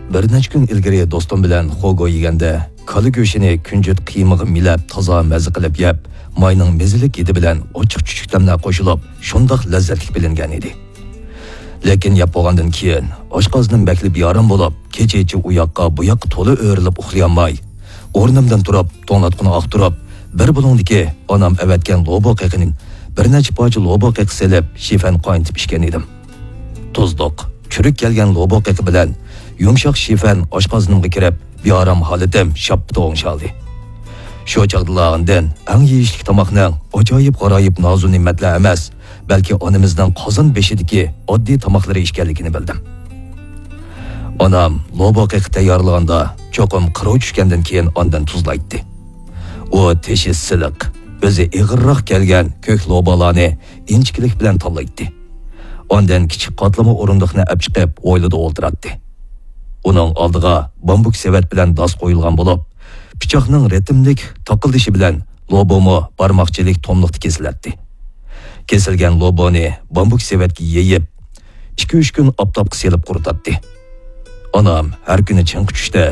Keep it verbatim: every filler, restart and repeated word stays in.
بىر نەچچە كۈن ئىلگىرى دوستۇم بىلەن خوگو يېگەندە، كالا گۆشىنى كۈنجۈت قىيمىغا مىلەپ، تازا مەززە قىلىپ يەپ، ماينىڭ مېزىلىك ھىدى بىلەن ئاچچىق چۈچۈكلەملەر قوشۇلۇپ، شۇنداق لەززەتلىك بىلىنگەن ئىدى. لېكىن يەپ بولغاندىن كېيىن، ئاشقازىنىم بەكلا بىئارام بولۇپ، كېچىچە ئۇ ياققا، بۇ ياققا تولا ئۆرۈلۈپ ئۇخلىيالماي، ئورنۇمدىن تۇرۇپ، توڭلاتقۇنى ئاختۇرۇپ، بىر بۇلۇڭدىكى ئانام ئەۋەتكەن لوبو قېقىنى، بىر نەچچە پارچە لوبو قېقى سېلىپ، شىفەن قاينىتىپ ئىچكەن ئىدىم. تۇزلۇق، چۈرۈك كەلگەن لوبو قېقى بىلەن يۇمشاق شىفەن ئاشقازىنىمغا كىرىپ، بىئارام ھالىتىم شاپپىدە ئوڭشالدى. شۇ چاغدىلا ئاندىن ئەڭ يېيىشلىك تاماقنىڭ ئاجايىپ غارايىپ نازۇ نېمەتلەر ئەمەس، بەلكى ئانىمىزنىڭ قازان بېشىدىكى ئاددىي تاماقلىرى ئىكەنلىكىنى بىلدىم. ئانام لوبو قېقى تەييارلىغاندا چوقۇم قىرىغا چۈشكەندىن كېيىن ئاندىن تۇزلايتتى. ئۇ تېشى سىلىق، ئۆزى ئېغىرراق كەلگەن كۆك لوبالارنى ئىنچىكىلىك بىلەن تاللايتتى. ئاندىن كىچىك قاتلىما ئورۇندۇقنى ئەپ چىقىپ، ھويلىدا ئولتۇراتتى. ئۇنىڭ ئالدىغا بامبۇك سېۋەت بىلەن داس قويۇلغان بولۇپ، پىچاقنىڭ رىتىملىك تاقىلدىشى بىلەن لوبومۇ بارماقچىلىك توملۇقتا كېسىلەتتى. كېسىلگەن لوبونى بامبۇك سېۋەتكە يېيىپ، ئىككى-ئۈچ كۈن ئاپتاپقا سېلىپ قۇرۇتاتتى. ئانام ھەر كۈنى چىڭقى چۈشتە